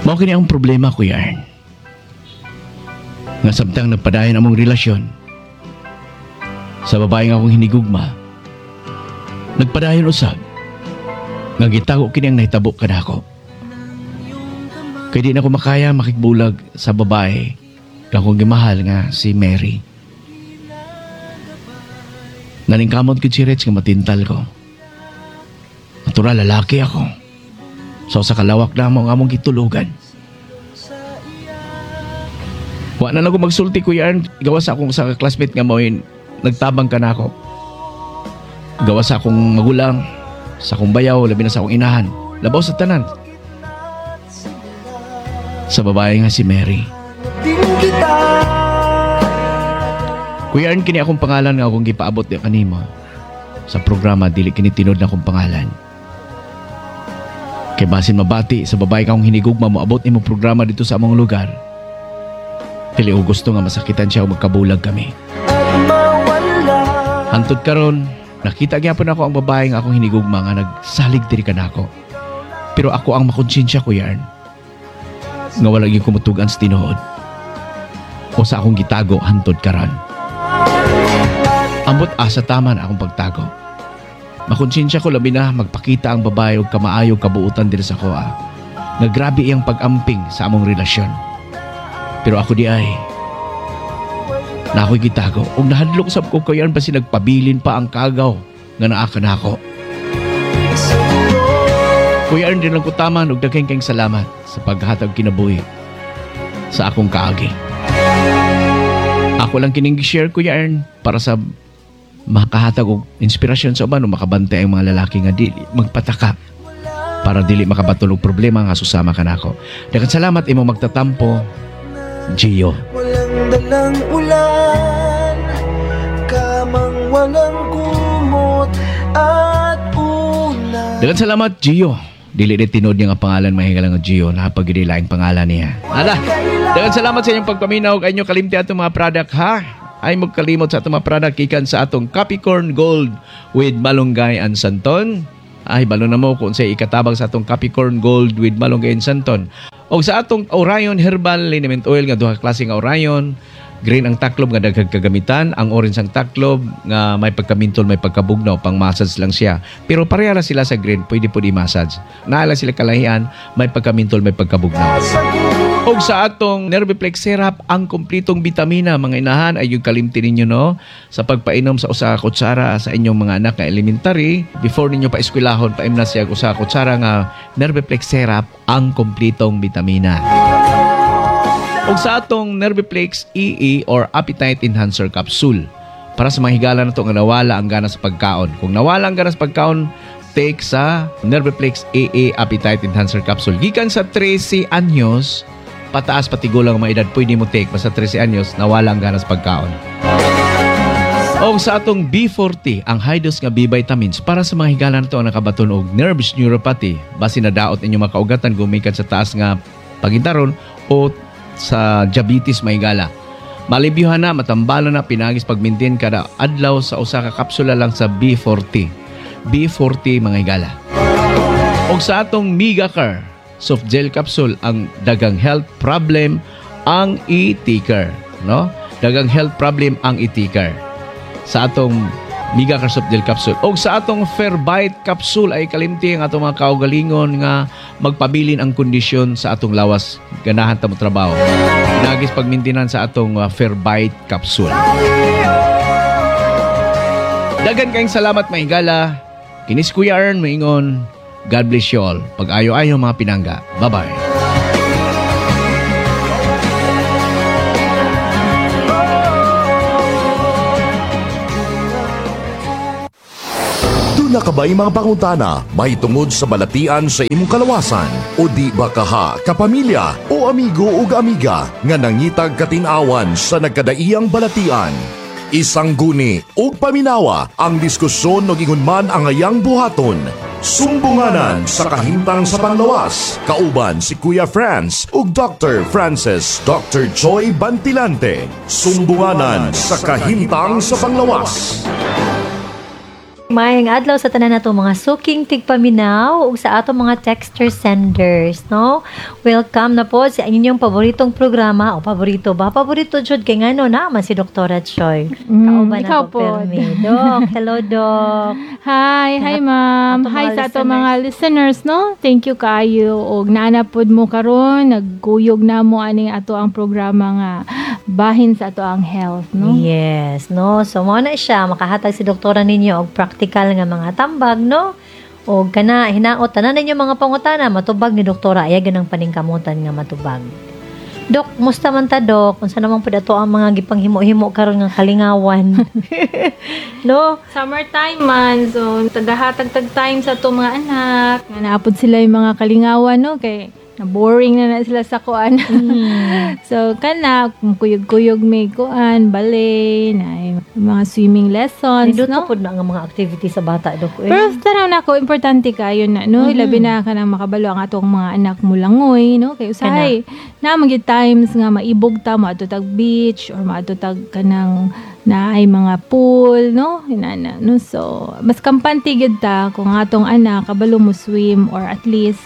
Mao kini ang problema, Kuya Ern. Nga samtang nagpadayon among relasyon sa babae nga akong hinigugma, nagpadayon usab nga gitago kini ang nahitabo kanako. Kay di na ko makaya makigbulag sa babae nga akong gimahal nga si Mary. Naningkamot gud si Rich nga matintal ko. Natural, lalaki ako. So sa kalawak na mo ang among gitulugan. Wa na lang ko magsulti, Kuya Ern, gawas sa akong sa classmate nga mo nagtabang ka na ako. Gawas sa akong magulang, sa akong bayaw, labi na sa akong inahan. Labaw sa tanan, sa babae nga si Mary. Kuya Ern, kini akong pangalan nga akong gipaabot di kanimo sa programa, dili kini tinuod na akong pangalan. Kay basin mabati sa babae kang hinigugma mo abot nimo programa dito sa among lugar. Dili ko gusto nga masakitan siya o magkabulag kami. Hantod karon, nakita gyapon ako ang babae nga akong hinigugma nga nagsalig diri kanako. Pero ako ang makonsensya, Kuya Ern, nga wala gyud kumutugan sa tinuod o sa akong gitago hantod karon. Ambot asa tama na akong pagtago. Makonsensya ko labi na magpakita ang babae og kamaayo kabuutan diri sa koa. Nga grabe iyang pag-amping sa among relasyon. Pero ako di ay na ako'y gitago. Ug nahadlok sab ko, Kuya Ern, basi nagpabilin pa ang kagaw nga naa kanako. Kuya Ern, di lang ko taman og daghang kayong salamat sa paghatag kinabuhi sa akong kaagi. Ako lang kining gi-share, Kuya Ern, para sa makahatag og inspirasyon sa uban o makabantay ang mga lalaki nga dili magpataka para dili makabaton og problema nga susama kanako. Daghang salamat, imong magtatampo, Gio. Walang dalang ulan, kamang walang kumot at unan. Daghang salamat, Gio. Dili ni tinuod niya nga pangalan, mahigala nga Gio. Napagili laing pangalan niya. Ala, daghang salamat sa inyong pagpaminaw. Kay inyo kalimti atong mga product, ha? Ay magkalimot sa atong mga product gikan sa atong Capricorn Gold with Malunggay and Santon. Ay, balo na mo kung sa ikatabang sa atong Capricorn Gold with Malunggay and Santon. O sa atong Orion Herbal Liniment Oil nga duha ka klase nga Orion. Green ang taklob nga daghang kagamitan, ang orange ang taklob nga may pagkamintol, may pagkabugnaw, pang massage lang siya. Pero pareha lang sila sa green, pwede po i-massage. Naa lang sila kalahian, may pagkamintol, may pagkabugnaw. Og sa atong Nerviplex Syrup, ang kumplitong bitamina, mga inahan, ay yung kalimti ninyo, no, sa pagpainom sa usa ka kutsara sa inyong mga anak nga elementary, before ninyo pa eskwelahon, paimna siya usa ka kutsara nga Nerviplex Syrup, ang kumplitong bitamina. Og sa atong Nerviplex EE or Appetite Enhancer Capsule, para sa mga higala na to nga nawala ang gana sa pagkaon. Kung nawala ang gana sa pagkaon, take sa Nerviplex EE Appetite Enhancer Capsule. Gikan sa 13 anyos, pataas patigulang mga edad, pwede mo take. Basta 13 anyos, nawala ang gana sa pagkaon. Og sa atong B40, ang high dose nga B vitamins para sa mga higala na to ang nakabaton og nerves neuropathy. Basi nadaot ninyo makaugatan gumikan sa taas nga pagintaron o sa diabetes mahigala. Malibyuhan na, matambala na, pinagis pag-maintain kada adlaw sa usa ka kapsula lang sa B40. B40, mga higala. Og sa atong Megacar soft gel capsule, ang dagang health problem ang e-ticker, no? Dagang health problem ang e-ticker sa atong Megacar soft gel capsule. Og sa atong Fairbyte capsule ay kalimti ang atong mga kaugalingon nga magpabilin ang kondisyon sa atong lawas, ganahan ta mo trabaho. Nagis pagmintinan sa atong Fairbyte capsule. Dagan kayong salamat, mahigala. Kinis Kuya Ern moingon, God bless you all. Pag-ayo-ayo, mga pinangga. Bye-bye. Duna ka ba'y mga pangutana mahitungod sa balatian sa imong kalawasan? O di ba kaha, kapamilya o amigo ug amiga nga nangitag katinawan sa nagkadaiyang balatian? Isang guni ug paminawa ang diskusyon og ingon man ang ayang buhaton. Sumbunganan sa kahimtang sa panglawas. Kauban si Kuya Franz ug Dr. Francis Dr. Joy Bantilante. Sumbunganan sa kahimtang sa panglawas. Maayong adlaw sa tanan nato mga suking tigpaminaw ug sa atong mga texter senders, no? Welcome na po sa inyong paboritong programa o paborito ba? Paborito jud kay ngano na man si Doktora Choi. Kauban ikaw ako pod. permi. Dok, hello Dok. Hi, hi ma'am. Atong Hi mga sa ato mga listeners, no? Thank you kaayo og naa pod mo karon, nagkuyog na mo aning ato ang programa nga bahin sa ato ang health, no? Yes, no. So mao na siya makahatag si doktora ninyo og practical nga mga tambag, no? Og kana hinaot tanan ninyo mga pangutana matubag ni doktora ay ganang paningkamutan nga matubag. Dok, musta man ta dok? Unsa naman pud ato ang mga gipanghimo-himo karon nga kalingawan? No? Summertime man, so tagahatag tag time sa ato mga anak. Nga naapod sila yung mga kalingawan, no? Kay na boring na na sila sa kuan. So kana kuyog-kuyog may kuan, ballet, na mga swimming lessons, Nindot no? pud na ang mga activity sa bata dok. Eh. Pero tanaw na ako, importante kayo na, no? Labi na ka nang makabalo ang atong mga anak mo langoy, no? Kay usahay, na mga times nga maibog ta, maadto tag beach, or maadto tag kanang na ay mga pool, no? Inana, no? So, mas kampante gyud ta kung ang atong anak kabalo mo swim or at least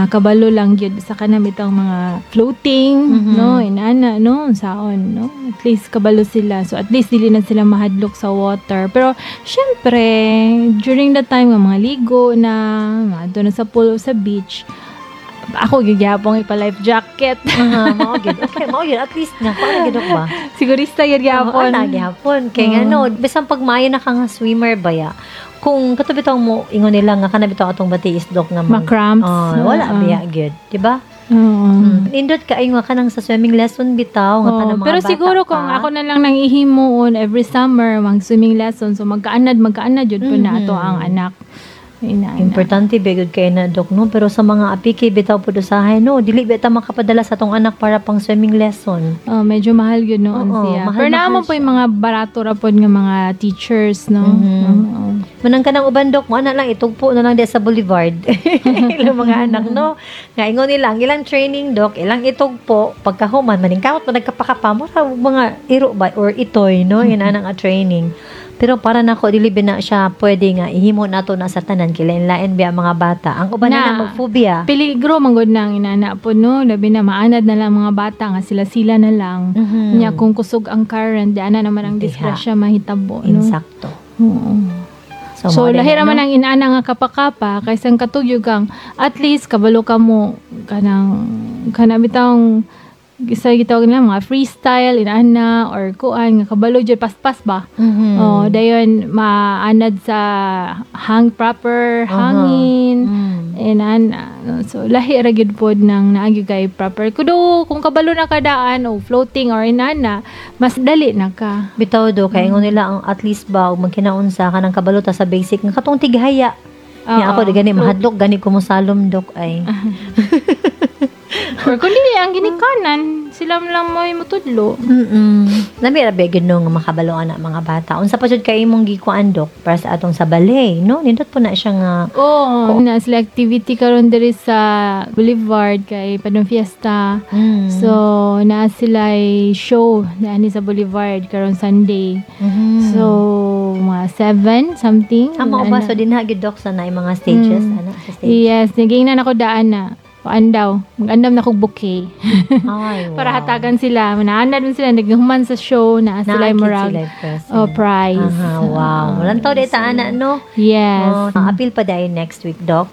kabalo lang gyud sa kanang itong mga floating, no? Inana, no? Saon, no? At least kabalo sila. So, at least dili na sila mahadlok sa water. Pero, syempre, during the time nga mga ligo na, maadto na sa pool o sa beach, ako gihapon ipa-life jacket. Aha, mao gyud. Okay, mao gyud at least nga kuan gyud dok ba? Sigurista gyud Oo, gihapon. ana gihapon. Kay ngano, bisan pag maayo na ka nga swimmer baya, kung kato bitaw mo ingon nila nga kana bitaw atong batiis dok nga Ma-cramps. Oh, wala Oo. biya gyud, di ba? Oo. Nindot kaayo nga kanang sa swimming lesson bitaw nga Oo, kanang mga pero bata siguro pa. kung ako na lang nang ihimuon every summer mag swimming lesson, so magkaanad jud po na ato ang anak. Ina, ina. Importante ba gyud kay na dok no, pero sa mga apiki bitaw pud usahay no, dili ba ta makapadala sa atong anak para pang swimming lesson. Oh, medyo mahal yun noon Oo, siya. mahal- Pero mahal naman po siya. yung mga barato ra pod nga mga teachers, no? Oo. Manang kanang uban dok, mo ana lang itugpo na lang di sa boulevard. Ilang mga anak no. Nga ingon nila ang ilang training dok, ilang itugpo pagkahuman maningkamot man nagkapakapa mo ra og mga iro ba or itoy no, yun ana nga training. Pero para nako dili ba na siya pwede nga ihimo nato na sa tanan kay lain-lain biya ang mga bata. Ang uban na, Na. na magphobia. Peligro man gud nang inana po, no? Labi na maanad na lang mga bata nga sila-sila na lang. Nya kung kusog ang current, di ana naman ang Diha. disgrasya mahitabo, no? Insakto. Oo. So, So, mao din lahi na, ra man no? ang inana nga kapakapa kaysa katugyog kang at least kabalo ka mo kanang kanang bitawng isa gitawag nila mga freestyle inana or kuan nga kabalo jud paspas ba. Oh, dayon maanad sa hang proper hangin. Inana, no? So lahi ra gyud pod nang naagi kay proper kudo kung kabalo na kadaan o floating or inana mas dali na ka. Bitaw do kay ingon nila ang at least ba og magkinaunsa ka ng kabalo ta sa basic nga katong tighaya. Nya Oo. ako di gani mahadlok gani ko mosalom dok ay. Or kung dili ang ginikanan, sila lang mo mutudlo. Nami ra ba gyud no nga makabalo ana mga bata. Unsa pa jud kay imong gikuan dok para sa atong sa balay no? Nindot po na siya nga Oo, na sila activity karon diri sa Boulevard kay Padong Fiesta. So, naa sila show na ani sa Boulevard karon Sunday. So, mga 7 something. Amo ba Ana. so dinha gyud dok sa naay mga stages ana sa stage. Yes, nagingnan ako daan na. Kuan daw, mag-andam na kog bouquet. Ay, wow. Para hatagan sila. Manaanad man sila, naghuman sa show na sila Naakit murag sila present. oh, prize. Aha, wow. Walang tao dita ana no. Yes. Oh, appeal pa dayon next week dok.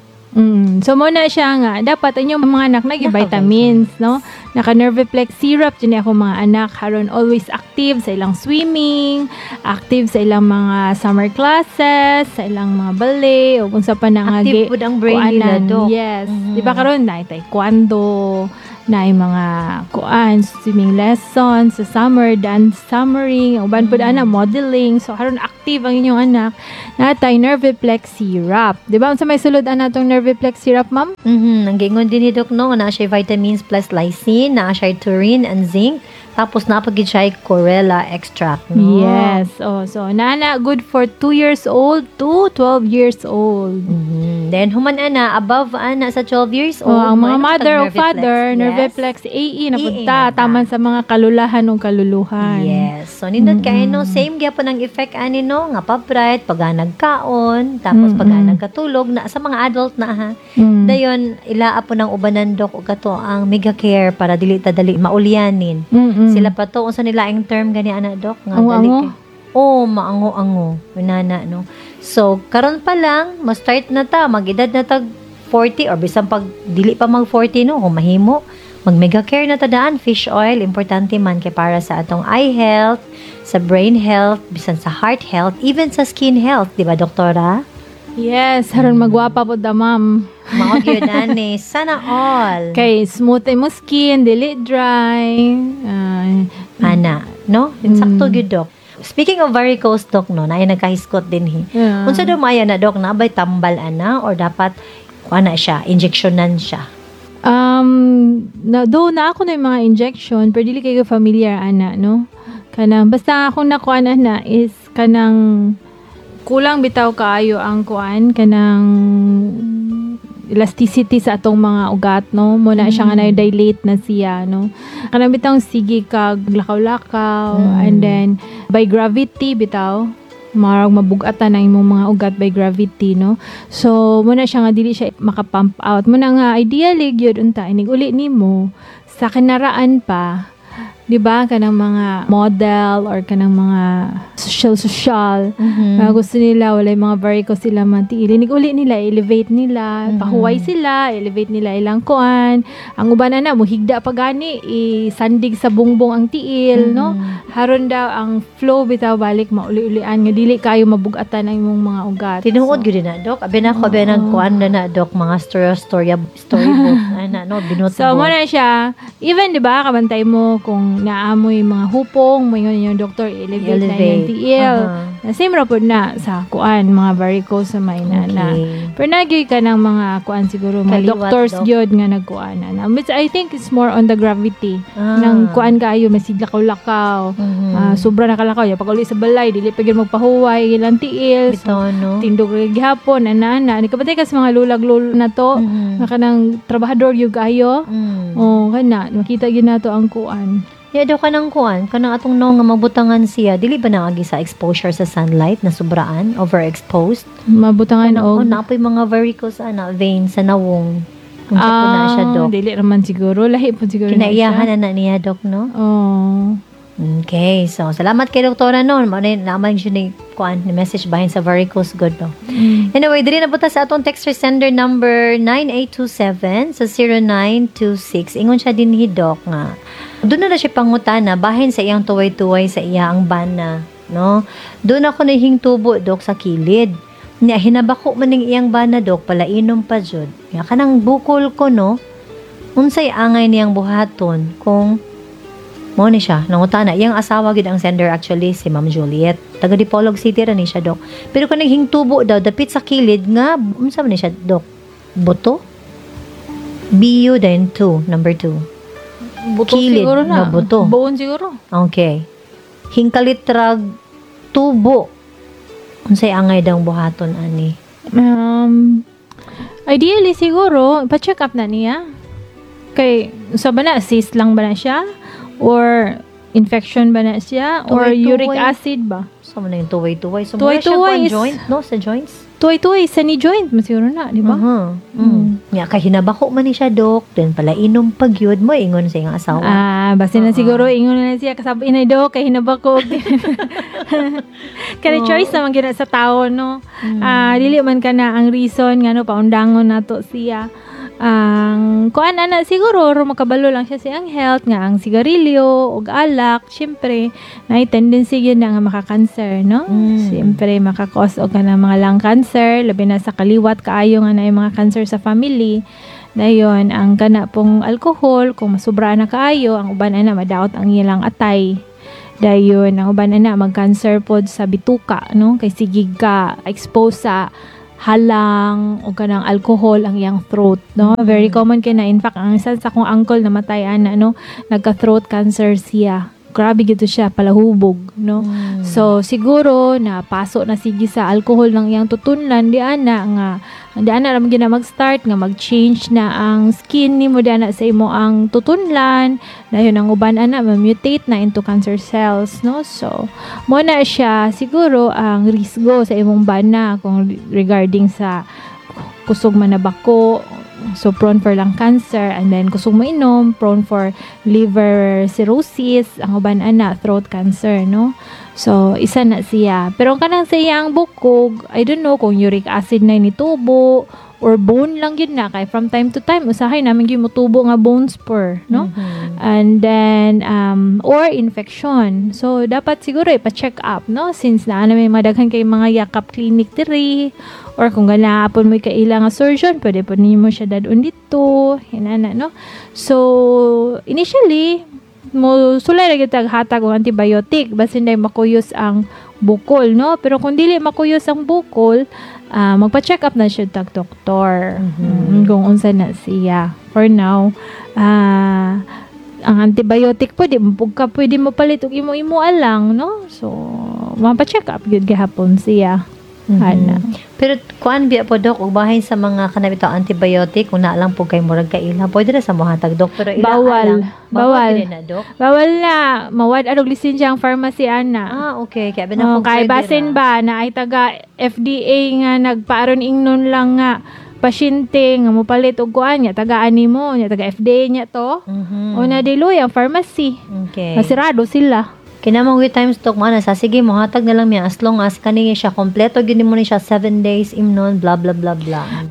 So mo na siya nga dapat inyong mga anak nagi vitamins, no? Naka Nerviplex syrup jud ni ako mga anak haron always active sa ilang swimming, active sa ilang mga summer classes, sa ilang mga ballet o unsa pa na nga Active pud ang brain nila, kuanan. Dok. Yes. Di ba karon na taekwondo, na mga kuan swimming lessons sa summer, dance summering, uban pud ana modeling. So karon active ang inyong anak natay Nerviplex syrup. Di ba unsa may sulod ana tong Nerviplex syrup, ma'am? Ang giingon din ni Doc no, naa siya vitamins plus lysine, naa siya taurine and zinc, tapos naa pa gid siya chlorella extract no. Yes. Oh, so nana good for 2 years old to 12 years old. Then human ana above ana sa 12 years Oh, old. ang mga mo, mother o Nerviplex. father, Yes. Nerviplex AE na EE punta, na ta. taman sa mga kalulahan o kaluluhan. Yes. So nindot kay no, same gyapon ang effect ani no, nga pa-bright pag nagkaon, tapos pag nagkatulog na sa mga adult na ha. Dayon ilaa po ng ubanan, dok, og kato ang Mega Care para dili ta dali maulyanin. Sila pa to unsa nila ang term gani ana, dok, nga dali Ango-ango? Oh, maango-ango. Inana no. So karon pa lang mo-start na ta, mag-edad na tag 40 or bisan pag dili pa mag 40 no, kung mahimo mag Mega Care na ta daan, fish oil importante man kay para sa atong eye health, sa brain health, bisan sa heart health, even sa skin health, di ba, doktora? Yes, haron magwapa po da, ma'am. Mao gyud ani, sana all. Kay smooth mo skin, dili dry. Ana, no? Insakto gyud, dok. Speaking of varicose, dok, no, naay nagkahiskot din hi. Unsa daw maya na, dok, na bay tambal ana or dapat ana siya, injectionan siya? Na do na ako na yung mga injection pero dili kayo familiar ana, no? Kanang basta akong nakuan ana is kanang kulang bitaw kaayo ang kuan, kanang elasticity sa atong mga ugat, no? Mo na siya nga na-dilate na siya, no? Kanang bitaw sige kag lakaw-lakaw and then by gravity bitaw marag mabugatan ang imong mga ugat by gravity, no? So muna siya nga dili siya maka-pump out. Muna nga ideally gyud unta inig uli nimo sa kinaraan pa, di ba, kanang mga model or kanang mga social social mga gusto nila walay mga varicose sila matiil, inig uli nila elevate nila, pahuway sila, elevate nila ilang kuan. Ang uban na muhigda pa gani, isandig sa bungbong ang tiil, no? Haron daw ang flow bitaw balik mauli-ulian nga dili kayo mabugatan ang imong mga ugat. Tinuod So, gyud na, dok. Abi na ko abi nag kuan na na, dok, mga story story storybook ana no, binot. So, mo na siya. Even, di ba, kabantay mo kung naamoy mga hupong, mo ingon yung doktor, elevate na Elevate. yung tiil. Same ra pod na sa kuan, mga varicose sa may na. Pero nagyoy ka ng mga kuan siguro, mga Kaliwat, doctors dok. gyud nga nagkuan na. Which I think it's more on the gravity. Nang kuan kaayo, masiglakaw-lakaw. Sobra na kalakaw. Ya, pag uli sa balay, dili pa gyud magpahuway, ilang tiil. So, Bitaw, no? tindog ra gihapon, ana-ana. Ni kabantay ka sa mga lulag lolo na to, nga kanang trabahador gyud kaayo. Oh, kana makita gyud nato ang kuan. Ya daw kanang kuan, kanang atong no nga mabutangan siya, dili ba naagi sa exposure sa sunlight na sobraan, overexposed? Mabutangan Kanang, og oh, napoy mga varicose ana vein sa nawong. Unsa po na siya, dok? Dili raman siguro, lahi po siguro na siya. Kinaiyahan na na niya, dok, no? Oh. Okay, so salamat kay doktora noon. Mao na naman siya ni kuan ni message bahin sa varicose good no. Anyway, diri na po ta sa atong texter sender number 9827 sa 0926. Ingon siya din hi dok nga. Doon na na siya pangutana bahin sa iyang tuway-tuway sa iya ang bana, no? Doon ako nahingtubo, dok, sa kilid. Nya hinabako man ning iyang bana, dok, palainom pa jud. Nya kanang bukol ko, no? Unsay angay niyang buhaton kung mo ni siya, nangutana. Iyang asawa gid ang sender actually, si Ma'am Juliet. Taga Dipolog City ra ni siya, dok. Pero kung naghingtubo daw, dapit sa kilid nga, unsa man ni siya, dok? Buto? BU then 2, number 2. Buto Kilid siguro na. na buto. Bone siguro. Okay. Hingkalitrag tubo. Unsay angay daw buhaton ani? Ideally siguro, pa-check up na niya. Kay, sa ba na, cyst lang ba na siya? Or infection ba na siya? Or Tuway-tuway. uric acid ba? So mo na yung tuway-tuway. So mura siya Tuway-tuway kuan is- joint, no? Sa joints? Tuway-tuway sa knee joint mo siguro na, di ba? Nga kay hinabako man ni siya, dok. Then pala inom pag yun mo ingon sa iyang asawa. Ah, basta na siguro ingon na siya kasab inay do kay hinabako. Kani choice naman gyud na sa tao, no. Ah, dili man kana ang reason ngano paundangon nato siya. Ang kuan ana siguro ro makabalo lang siya sa iyang health nga ang sigarilyo ug alak syempre naay tendency gyud na nga maka-cancer, no? Syempre maka-cause og kanang mga lung cancer, labi na sa kaliwat kaayo nga naay mga cancer sa family. Dayon ang kana pong alcohol kung masubra na kaayo ang uban ana madaot ang ilang atay. Dayon ang uban ana mag-cancer pod sa bituka, no? Kay sige ka expose sa halang o kanang alcohol ang iyang throat, no? Very common kay na. In fact, ang isa sa akong uncle namatay ana, no, nagka throat cancer siya. Grabe gito siya palahubog, no? So siguro na paso na sige sa alcohol ng iyang tutunlan di ana nga di ana ra man gina mag-start nga mag-change na ang skin nimo di ana sa imo ang tutunlan, dayon ang uban ana ma-mutate na into cancer cells, no? So mo na siya siguro ang risgo sa imong bana kung regarding sa kusog man na bako, so prone for lung cancer, and then kusog mo inom, prone for liver cirrhosis, ang uban ana throat cancer, no? So isa na siya. Pero ang kanang sa iyang bukog, I don't know kung uric acid na nitubo or bone lang yun na, kay from time to time usahay namin gyud motubo nga bone spur, no? And then or infection. So dapat siguro ipa-check up, no? Since naa na may madaghan kay mga yakap clinic diri, or kung ganaapon mo kaila nga surgeon, pwede po nimo siya dadon dito, hinana, no? So initially mo sulay ra gyud tag hatag og antibiotic basin day makuyos ang bukol, no? Pero kung dili makuyos ang bukol, magpa-check up na siya tag doktor. Kung unsa na siya. For now, ang antibiotic po, di mo ka pwede mo palit og imo-imo alang, no? So, mapa-check up gyud gihapon siya. Ana. Pero kuan biya po, dok, ug bahin sa mga kanang bitaw antibiotic, kung naa lang po kay murag kaila, pwede ra sa mohatag, dok, pero ila Bawal. lang. Bawal. Dili na, dok. Bawal na mawad arog lisensya ang pharmacy ana. Ah, okay. Kaya ba na Oh, kung kay pwede basin ra. ba na ay taga FDA nga nagpaaron ingnon lang nga pasyente nga mopalit og kuan nya taga ani mo nya taga FDA nya to. O na diloy ang pharmacy. Okay. Masirado sila. Kinamang with times talk man sa sige mohatag na lang miya as long as kani siya kompleto gyud nimo ni siya 7 days imnon, blah blah blah blah.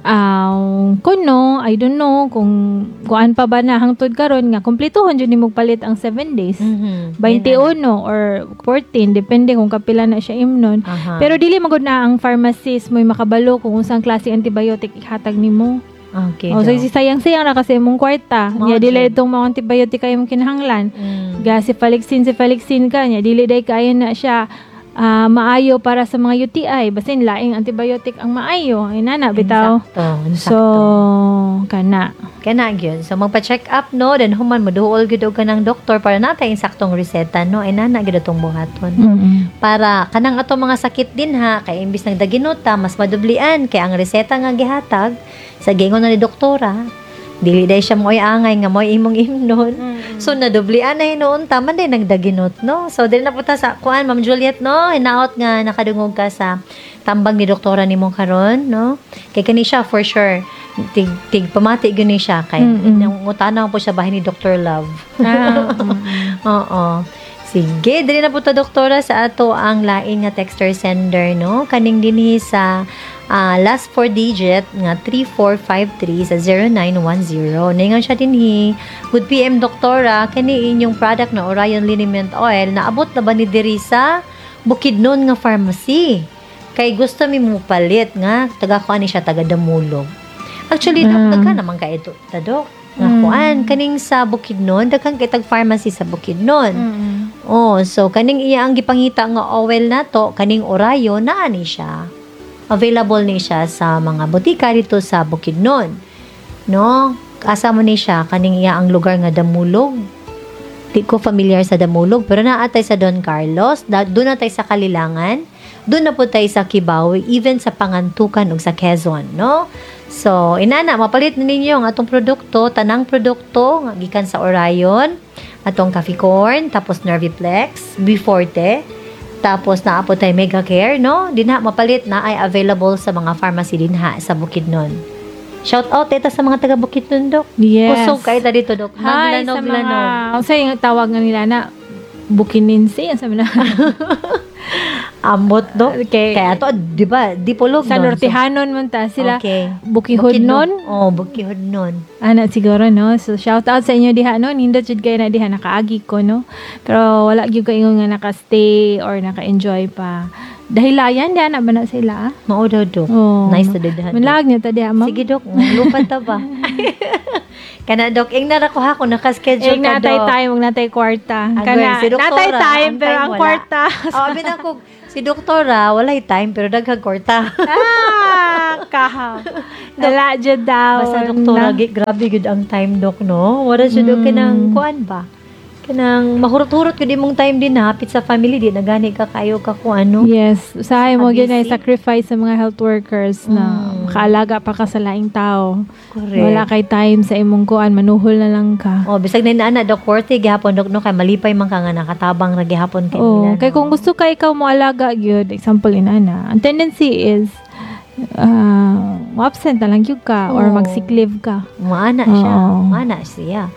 Kuno, I don't know kung kuan pa ba na hangtod karon nga kumpletohon jud nimo palit ang 7 days. 21 or 14, depende kung kapila na siya imnon. Pero dili magud na ang pharmacist mo'y makabalo kung unsang klase antibiotic ihatag nimo. Okay. Oh, so Dok. sayang-sayang na kasi imong kwarta. Mao Nya dili jud. itong mga antibiotic kay imong kinahanglan. Ga cephalexin ka nya dili day kaayo na siya maayo para sa mga UTI, basin laing antibiotic ang maayo. Inana bitaw. Insakto, insakto. So kana. Kana gyud. So magpa-check up, no, then human moduol gyud og kanang doktor para natay insaktong reseta, no. Inana gyud atong buhaton. Para kanang ato mga sakit din ha, kay imbis nagdaginot ta, mas madublian kay ang reseta nga gihatag sa gingon na ni doktora, dili day siya mo'y angay nga mo'y imong imnon. So nadublian na hinuon ta man day nagdaginot, no. So dili na punta sa kuan, Ma'am Juliet, no, hinaot nga nakadungog ka sa tambag ni doktora nimo karon, no. Kay kani siya for sure tig tig pamati gyud ni siya kay nangutana po siya bahin ni Dr. Love. Oo. Sige, dili na po ta, doktora, sa ato ang lain nga texter sender, no? Kaning dinhi sa last 4 digit nga 3453 sa 0910. Ningon siya dinhi, "Good PM, doktora, kani inyong product na Orion Liniment Oil, naabot na ba ni diri sa Bukidnon nga pharmacy? Kay gusto mi mo palit nga taga kuan ni siya, taga Damulog." Actually, dok, daghan naman ka ito, ta, dok. Nga kuan kaning sa Bukidnon, daghan kay tag pharmacy sa Bukidnon. Oh, so kaning iya ang gipangita nga oil nato, kaning Orion naa ni siya. Available ni siya sa mga botika dito sa Bukidnon. No? Asa mo ni siya kaning iya ang lugar nga Damulog. Di ko familiar sa Damulog, pero naa tay sa Don Carlos, doon na tay sa Kalilangan, doon na po tay sa Kibawe, even sa Pangantukan ug sa Quezon, no? So, inana, mapalit na ninyo ang atong produkto, tanang produkto nga gikan sa Orion, atong coffee corn, tapos Nerviplex, B-Forte, tapos naa po tay Mega Care, no? Dinha mapalit na ay available sa mga pharmacy dinha sa Bukidnon. Shout out eta sa mga taga Bukidnon, dok. Yes. Kusog kay ta dito, dok. Hi sa Naglanog, mga lanog. unsa yung tawag nga nila na Bukininse, ang sabi na. Amot, dok. Okay. Kaya to, di ba? Di pulog Sa nun. Nortehanon man ta sila. Okay. Bukihudnon. Oh, Bukihudnon. Ana siguro, no. So shout out sa inyo diha, no. Nindot jud kayo na diha, nakaagi ko, no. Pero wala gyud ko ingon nga naka-stay or naka-enjoy pa. Dahilayan diha na ba na sila? Mao daw, dok. Oh. Nice to diha, dok. Manlag niya ta diha, ma'am. Sige, dok. Lupat ta ba? Kana, dok. Ing nara ko ha kung naka-schedule Ing ka, natay dok. time, ug natay kwarta. Agwel, Kana, si doktora, natay time, ang pero time ang wala. kwarta. Oh, abi na ko, si doktora, walay time, pero daghang kwarta. Kahaw. Wala jud daw. Basta doktora, grabe gud ang time, dok, no? Wala siya, dok, kanang kuan ba? Kanang mahurot-hurot gyud imong time din na hapit sa family, di na gani ka kayo ka kung ano. Yes, usahay mo gyud Busy. Sacrifice sa mga health workers na makaalaga pa ka sa laing tao. Correct. Wala kay time sa imong kuan, manuhol na lang ka. Oh, bisag na ana, Dok, worthy gihapon, Dok, no, kay malipay man ka nga nakatabang ra gihapon kay Oh, nila. kay No? kung gusto ka ikaw mo alaga gyud, example inana. Ang tendency is absent na lang gyud ka or Oo. mag-sick leave ka. Maana siya. Oo. Maana siya.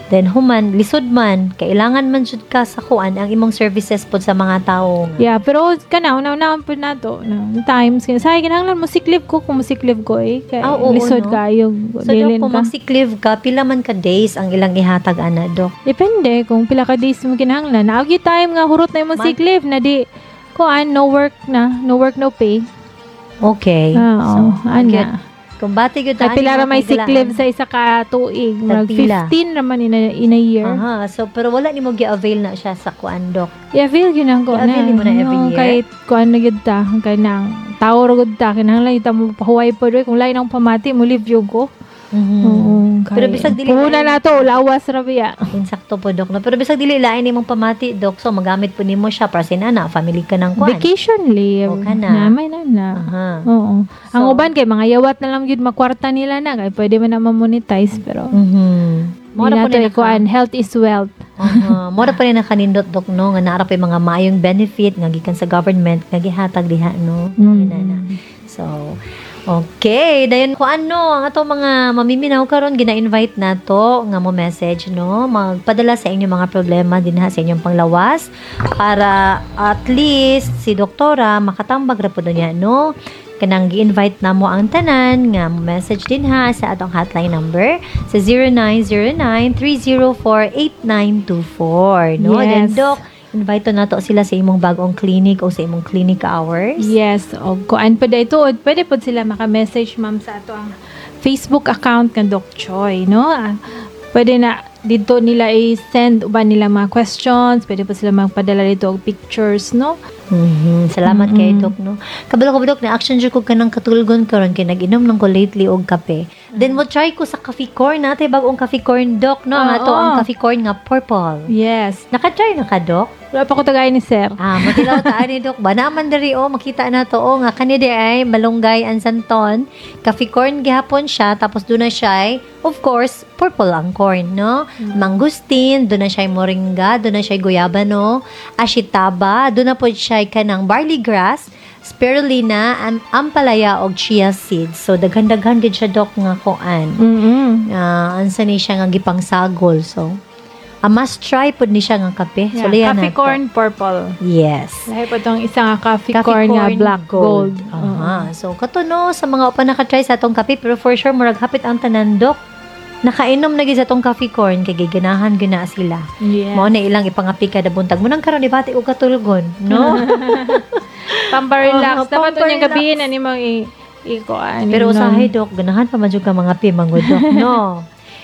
Then human, lisod man, kailangan man jud ka sa kuan ang imong services pod sa mga tao nga. Yeah, pero kana una-unahon pud nato na times kaya say kinahanglan mo sick leave ko kung mo sick leave ko eh kay Ah, oo, lisod no? kayo So, Dok, bilin kung ka. mag-sick leave ka, pila man ka days ang ilang ihatag ana, Dok? Depende kung pila ka days mo kinahanglan. Naa gyud time nga hurot na imong sick leave na di kuan, no work na, no work no pay. Okay. Ah, So, oo, ana. Kung bati gyud Kay pila ra may sick leave sa isa ka tuig, murag Tagpila. 15 raman in a year. Aha, so pero wala nimo gi-avail na siya sa kuan, Dok? I-avail gyud na ko na. I-avail nimo na every No, year? kay kuan na gyud ta, kay nang tao ra gyud ta, kinahanglan gyud ta mo pahuway pod oy. Kung lain ang pamati mo leave gyud ko. Oo, kay Pero bisag dili puhunan na to, lawas ra biya. Insakto po, Dok. No? Pero bisag dili lain imong pamati, Dok. So magamit po nimo siya para sinana, family ka ng kuan. Vacation leave. O, kana. Na may na na. Aha. Oo. Ang So- uban kay mga yawat na lang gyud makwarta nila na kay pwede man na ma-monetize pero Mao di ra na po to ni ikuan, health is wealth. Aha. Mao ra pa ni nakanindot, Dok, no, nga naa ra pa yung mga maayong benefit nga gikan sa government nga gihatag diha, no. Yun na na. So, okay, dayon ko ano ang ato mga mamiminaw karon, gina-invite nato nga mo message, no, magpadala sa inyong mga problema dinha sa inyong panglawas para at least si doktora makatambag ra pud niya, no. Kanang gi-invite namo ang tanan nga mo message dinha sa atong hotline number sa 0909-304-8924, no. Then Doc, invite to nato sila sa imong bagong clinic o sa imong clinic hours. Yes, og kuan pa dahito, pwede pod sila maka-message, ma'am, sa ato ang Facebook account nga Doc Choi, no? Ah, pwede na dito nila i-send uban nila mga questions, pwede po sila magpadala dito og pictures, no? Salamat kay Doc, no. Kabalo ko, Doc, na action jud ko kanang katulgon karon kay nag-inom lang ko lately og kape. Then mo try ko sa coffee corn natin, bagong coffee corn, Doc, no, ang ato ang coffee corn nga purple. Yes. Naka-try na ka, Doc? Wala pa ko tagay ni sir. Ah, matilaw ta ani, Dok. Ba naman diri oh, makita na to oh nga kani di ay malunggay ang santon. Coffee corn gihapon siya, tapos doon na siya ay, of course, purple ang corn, no? Mangustin, doon na siya ay moringa, doon na siya ay guyabano, ashitaba, doon na po siya ay kanang barley grass, spirulina, ampalaya og chia seeds. So daghan-daghan gid siya, Dok, nga kuan. Ah, ansa ni siya nga gipangsagol. So, a must try pud ni siya nga kape. So, Yeah, liyan coffee nato. corn purple. Yes. Lahi pa tong isa nga coffee corn nga black gold. Aha. So kato no sa mga upa naka-try sa atong kape, pero for sure murag hapit ang tanan, Dok nakainom na gyud sa atong coffee corn kay giganahan gyud na sila. Mao na ilang ipangapi kada buntag. Mo nang karon ibati og katulgon, no? Pampa-relax. Oo, Dapat unyang pampa-relax. gabi na nimong i-kuan. Pero usahay, Dok, ganahan pa man jud ka mga pimangod, Dok, no?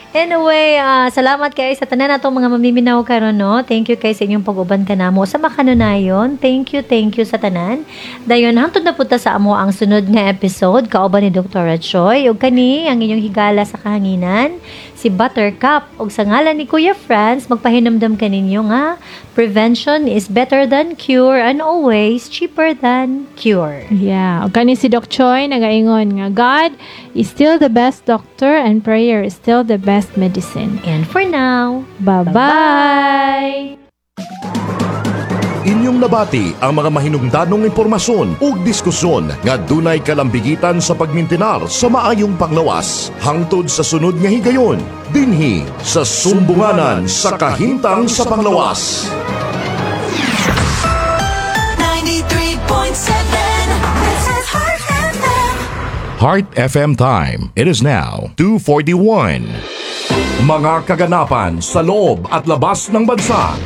Anyway, salamat kay sa tanan natong mga mamiminaw karon, no. Thank you kay sa inyong pag-uban kanamo sa makanunayon. Thank you sa tanan. Dayon hangtod na punta sa amo ang sunod nga episode kauban ni Dr. Choi ug kani ang inyong higala sa kahanginan, si Buttercup, ug sa ngalan ni Kuya Franz, magpahinumdum kaninyo nga prevention is better than cure and always cheaper than cure. Yeah. Ug kani si Doc Choi nagaingon nga God is still the best doctor and prayer is still the best medicine. And for now, Bye-bye. Inyong nabati ang mga mahinungdanong impormasyon ug diskusyon nga dunay kalambigitan sa pagmintinar sa maayong panglawas. Hangtod sa sunod nga higayon, dinhi sa Sumbunganan sa Kahimtang sa Panglawas. 93.7. This is Heart FM. Heart FM time. It is now 2:41. Mga kaganapan sa loob at labas ng bansa.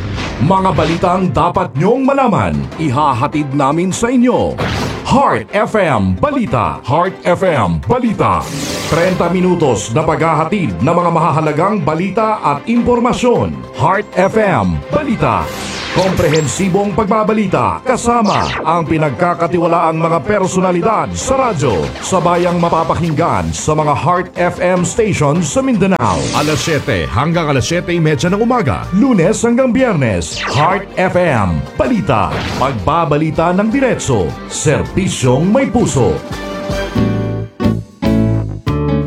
Mga balitang dapat nyong malaman. Ihahatid namin sa inyo. Heart FM Balita. Heart FM Balita. 30 minutos na paghahatid ng mga mahahalagang balita at impormasyon. Heart FM Balita. Komprehensibong pagbabalita kasama ang pinagkakatiwalaang mga personalidad sa radyo sa bayang mapapakinggan sa mga Heart FM stations sa Mindanao. Alas 7 hanggang alas 7:30 ng umaga, Lunes hanggang Biyernes. Heart FM, balita, pagbabalita ng diretso, serbisyong may puso.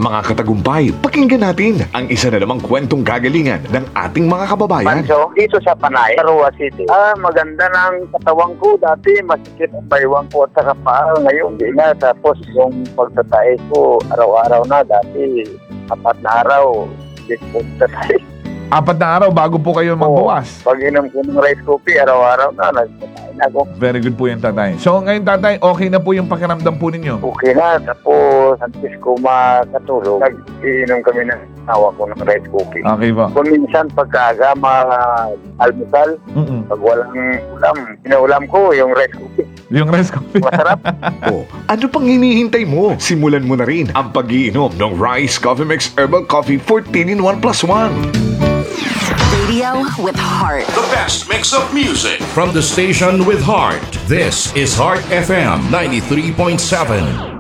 Mga katagumpay, pakinggan natin ang isa na namang kwentong kagalingan ng ating mga kababayan. Pancho, dito sa Panay, Tarua City. Maganda ng katawan ko. Dati, masikip ang baywang ko at saka paa. Ngayon, hindi na. Tapos, yung pagtatae ko, araw-araw na. Dati, 4 na araw, hindi ko pagtatae. 4 na araw bago po kayo magbawas. Pag inom ko ng rice coffee, araw-araw na, nagtatae na ako. Very good po yan, tatay. So ngayon, tatay, okay na po yung pakiramdam po ninyo? Okay na. Tapos, antes ko makatulog, nag-iinom kami ng asawa ko ng rice coffee. Okay po. Kung minsan, pagkaaga, almusal, pag walang ulam, inaulam ko yung rice coffee. Yung rice coffee. Masarap. O, ano pang hinihintay mo? Simulan mo na rin ang pag-iinom ng Rice Coffee Mix Herbal Coffee 14 in 1 plus 1. Radio with heart. The best mix of music from the station with heart. This is Heart FM 93.7.